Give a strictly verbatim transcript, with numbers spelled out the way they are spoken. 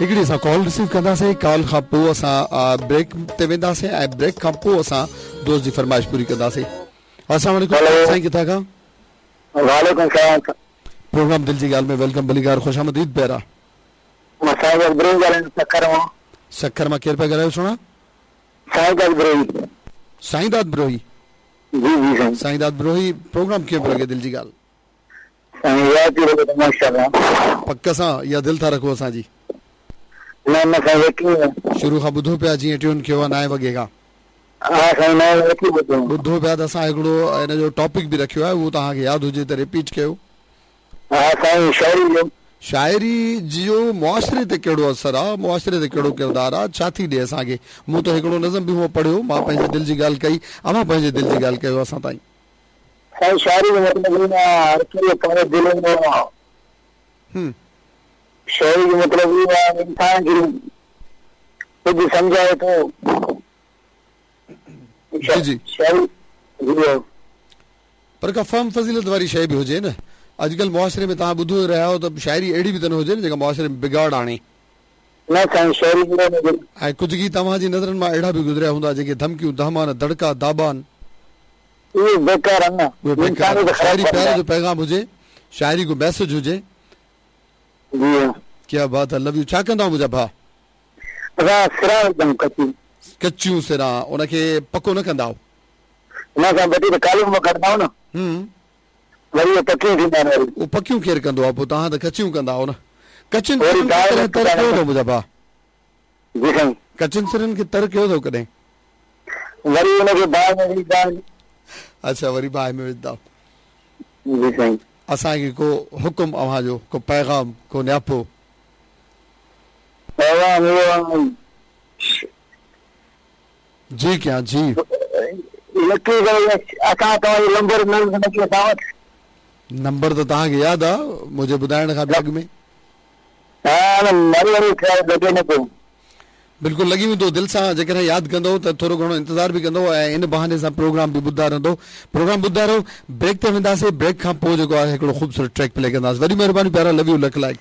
हिकिड़ी असां call receive कंदासीं, कॉल खां पोइ असां ब्रेक ते वेंदासीं ऐं ब्रेक खां पोइ असां दोस्त जी फरमाइश पूरी कंदासीं। अस्सलाम वालेकुम साईं, किथां खां? वालेकुम सलाम। प्रोग्राम दिल जी ॻाल्हि में welcome, भलीकार, ख़ुशामदीद प्यारा। मां साईं ब्रोही ॻाल्हायां, सक्खर मां। सक्खर मां केरु पिया ॻाल्हायो सुहिणा? साईंदाद ब्रोही। साईंदाद ब्रोही? जी जी साईं। साईंदाद ब्रोही, प्रोग्राम कीअं पियो लॻे दिल जी ॻाल्हि? साईं याद थी लॻे माशाअल्लाह। पक सां या दिलि था रखो असांजी? न न साईं, यकीन। शुरू खां ॿुधो पिया, जीअं ट्यून कयो आहे नाए वॻे खां। हा साईं, नाए वॻे ॿुधो ॿुधो पिया त असां हिकिड़ो हिन जो टॉपिक बि रखियो आहे, उहो तव्हांखे यादि हुजे त रिपीट कयो। हा साईं, शाइरी जो। शाइरी जो मुआशरे ते कहिड़ो असरु आहे, मुआशरे ते कहिड़ो किरदारु आहे, छा थी ॾिए असांखे? मूं त हिकिड़ो नज़म बि हूअं पढ़ियो, मां पंहिंजे दिलि जी ॻाल्हि कई, अव्हां पंहिंजे दिलि जी ॻाल्हि कयो असां ताईं। साईं शाइरी जो मतिलबु हर कंहिं दिलि में, शाइरी जो मतिलबु इहो आहे इंसान खे कुझु सम्झाए थो। जी जी, शाइरी पर का फहम फज़ीलत वारी शइ बि हुजे न। अॼुकल्ह मुआशरे में तव्हां ॿुधो रहिया आहियो त शाइरी अहिड़ी बि त न हुजे न जेका मुआशरे में बिगाड़ आणे। न साईं, शाइरी ऐं कुझु गी तव्हांजी नज़रनि मां अहिड़ा बि गुज़रिया हूंदा जेके धमकियूं धमान दड़का दाबान, उहे बेकार आहिनि न, उहे बेकार। शाइरी प्यार जो पैगाम हुजे, शाइरी को मैसेज हुजे। जी क्या बात है, लव you. छा कंदा मुंहिंजा भाउ? असां सिरा विझंदा कच्ची, कच्चियूं सिरा, उनखे पको न कंदा न साईं, बटी त कालू मां कढंदा न। हम्म, वरी पकियूं थींदा आहिनि। वरी उहो पकियूं केरु कंदो आहे? पोइ तव्हां त कचियूं कंदा आहियो न। कचियुनि सिरनि खे तर कयो अथव मुंहिंजा भाउ? जी साईं, कचियुनि सिरनि खे तर कयो अथव कॾहिं? वरी हुनखे बाहि में विझंदा आहिनि। अच्छा, वरी बाहि में विझंदा। जी साईं। असांखे को हुकुम अव्हांजो, को पैगाम, को न्यापो? पैगाम इहो जी क्या जी असां तव्हांजो नंबर न असां वटि। नंबर त तव्हांखे यादि आहे मुंहिंजे ॿुधाइण खां बि अॻु में? हा, वरी वरी लॻे न पियो। बिल्कुलु लॻी वेंदो दिलि सां, जेकॾहिं यादि कंदव त थोरो घणो इंतज़ारु बि कंदव ऐं इन बहाने सां प्रोग्राम बि ॿुधंदा रहंदो। प्रोग्राम ॿुधंदा रहो। ब्रेक ते वेंदासीं, ब्रेक खां पोइ जेको आहे हिकिड़ो ख़ूबसूरत ट्रैक प्ले कंदासीं। वॾी महिरबानी प्यारा, लव you, luck like.